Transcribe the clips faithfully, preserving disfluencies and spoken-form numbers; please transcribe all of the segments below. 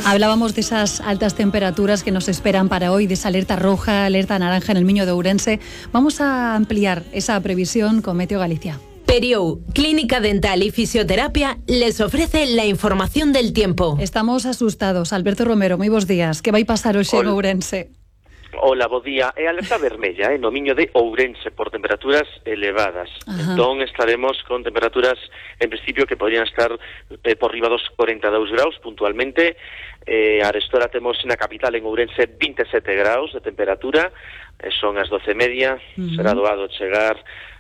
Hablábamos de esas altas temperaturas que nos esperan para hoy, de esa alerta roja, alerta naranja en el Miño de Ourense. Vamos a ampliar esa previsión con Meteo Galicia. Periou, Clínica Dental y Fisioterapia, les ofrece la información del tiempo. Estamos asustados. Alberto Romero, moi bons días. Que vai pasar hoxe en Ourense? Hola, bo día. É alerta vermella, eh, no Miño de Ourense, por temperaturas elevadas. Ajá. Entón estaremos con temperaturas, en principio, que podrían estar eh, por riba dos corenta e dous graus, puntualmente. Eh, arestora temos na capital, en Ourense, vinte e sete graus de temperatura. Eh, son as doce e media. Uh-huh. Será doado chegar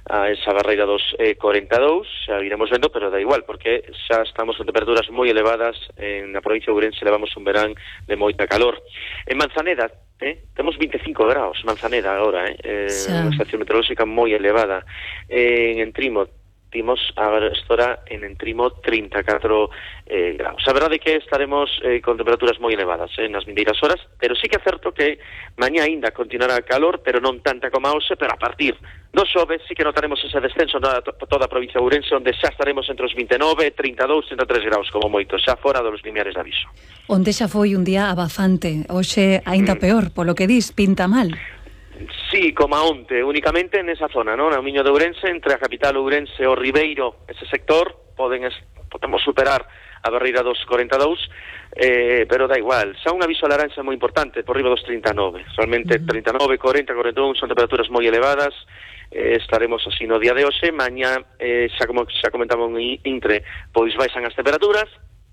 a esa barreira dos eh, corenta e dous, xa iremos vendo, pero da igual, porque xa estamos con temperaturas moi elevadas. En a provincia de Ourense levamos un verán de moita calor. En Manzaneda, eh, temos vinte e cinco graus, Manzaneda agora, eh, eh unha estación meteorolóxica moi elevada. Eh, en Entrimo, timos a estora en Entrimo trinta e catro eh, graus. A verdade é que estaremos eh, con temperaturas moi elevadas eh, nas vindeiras horas, pero sí que é certo que mañá ainda continuará calor, pero non tanta como a hoxe, pero a partir do xoves sí que notaremos ese descenso na to toda a provincia de Ourense, onde xa estaremos entre os vinte e nove, trinta e dous, trinta e tres graus como moito, xa fora dos limiares de aviso. Onde xa foi un día abafante, hoxe aínda mm. peor, polo que dis, pinta mal. Sí, como a onte, únicamente nesa zona, non? No Miño de Ourense, entre a capital Ourense e o Ribeiro, ese sector, poden es, podemos superar a barreira dos corenta e dous, eh, pero da igual. Xa un aviso laranxa moi importante, por riba dos trinta e nove. Realmente, uh-huh. trinta e nove, corenta, corenta e un son temperaturas moi elevadas. Eh, estaremos así no día de hoxe. Mañá, eh, xa como xa comentamos en Intre, pois baixan as temperaturas.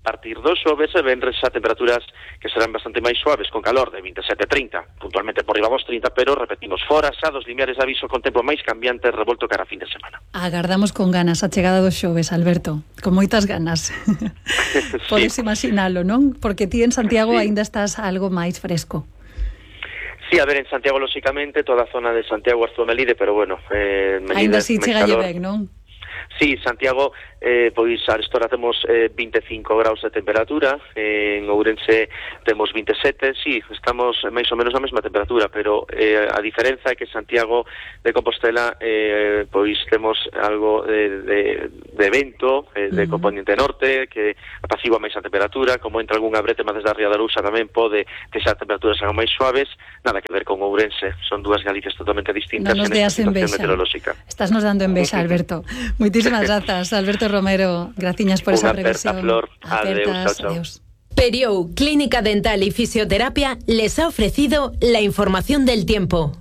A partir do xoves e venres a temperaturas que serán bastante máis suaves, con calor de vinte e sete a trinta, puntualmente por riba dos trinta, pero repetimos, fora xa dos limiares de aviso con tempo máis cambiante revolto cara a fin de semana. Agardamos con ganas a chegada dos xoves, Alberto, con moitas ganas. Podes sí. imaginalo, non? Porque ti en Santiago sí. aínda estás algo máis fresco. Sí, a ver, en Santiago, lóxicamente, toda a zona de Santiago, Arzuo Melide, pero bueno... Eh, aínda así chega ben, non? Sí, Santiago, eh, pois a estora temos eh, vinte e cinco graus de temperatura, eh, en Ourense temos vinte e sete, sí, estamos máis ou menos na mesma temperatura, pero eh, a diferenza é que Santiago de Compostela eh, pois temos algo de, de, de vento, eh, de uh-huh. componente norte, que apacigua máis a temperatura, como entra algunha bretema desde a Ría da Arousa tamén pode que xa temperaturas algo máis suaves, nada que ver con Ourense, son dúas Galicias totalmente distintas no en esta situación meteorolóxica. Estás nos dando envexa, Alberto. Moitísimas grazas, Alberto Romero. Graciñas por esa previsión. Flor. Adeus, chao, chao. Periou, Clínica Dental y Fisioterapia les ha ofrecido la información del tiempo.